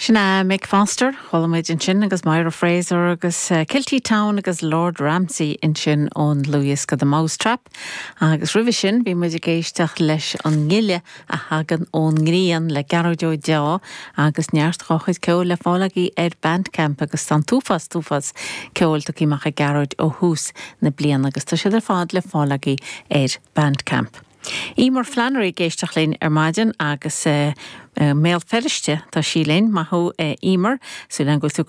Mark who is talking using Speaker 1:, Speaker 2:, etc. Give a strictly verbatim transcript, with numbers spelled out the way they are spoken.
Speaker 1: Sinna Mick Foster, chuala muid ansin agus Myra Fraser agus uh, Kilty Town agus Lord Ramsey ansin ón dlúthdhiosca The Mousetrap. Agus roimhe sin bhí muid ag éisteacht leis an ngile a thagann ón ngrian le Gearóid Ó Deá agus neart dá chuid ceoil le fáil agaibh ar Bandcamp agus an t-uafás t-uafás ceoil tugtha amach ag Gearóid ó thús na bliana agus tá siad ar fad le fáil agaibh ar Bandcamp. Emer Flannery ag éisteacht linn ar maidin agus uh, uh, Béal Feirste tá sí linn maith thú uh, Emer, súil agam go bhfuil tú